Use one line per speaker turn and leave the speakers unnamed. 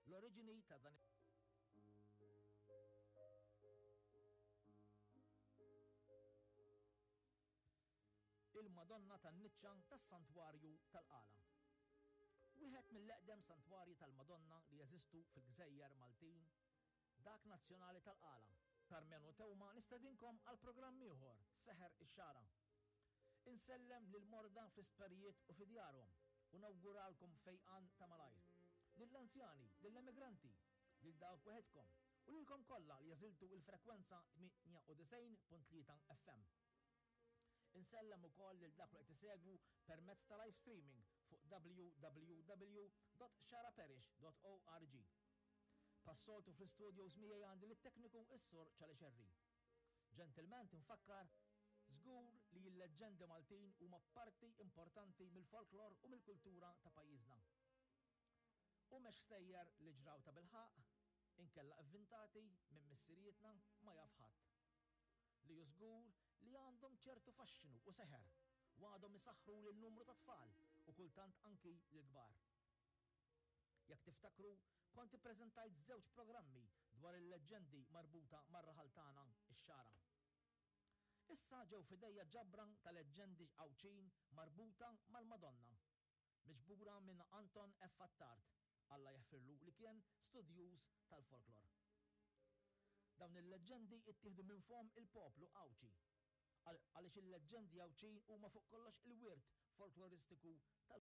L-oriġini ta' dan Il-Madonna tan-Niċċa tas-Santwarju tal-Qala. Wieħed mill-eqdem santwarji tal-Madonna li jeżistu fil-gżejjer Maltin, dak nazzjonali tal-Qala. Karmenu Theuma nistedinkom għal programm ieħor, Seħer ix-Xagħra. Insellem lill-morda fl-isptarijiet u fi djarhom u nawguralkom fejqan ta' malajr. Lill-anzjani, lill-emigranti, lil dawk weħidkom u lilkom kollha li għażiltu l-frekwenza 98.3 FM. Insellem ukoll lil dawk li qed isegwu permezz ta' live streaming fuq www.xaraparish.org. Bħas-soltu fl-istudios miegħi għandi lit-tekniku s-Sur Charlie Scerri. Ġentilment infakkar, żgur li l-leġġendi Maltin huma parti importanti mill-folklor u mill-kultura ta' pajjiżna. Humex stejjer li ġraw tabilħaqq, inkella ivvintati minn missirijietna ma jaf ħadd. Li hu żgur li għandhom ċertu faxxinu u seħer u għadhom isaħħru lil numru ta' tfal u kultant anki lill-kbar. Jekk tiftakru, kont ippreżentajt żewġ programmi dwar il-leġġendi marbuta mar-raħal tagħna, ix-Xagħra. Issa ġew f'idejja ġabra ta' leġġendi Għawdxin marbuta mal-Madonna. Miġbura minn Anton F. Attard, Alla jaħfirlu, li kien studjuż tal-folklor. Dawn il-leġġendi ttieħdu minn fomm il-poplu Għawdxi, għaliex il-leġġendi Għawdxin huma fuq kollox il-wirt folkloristiku tal.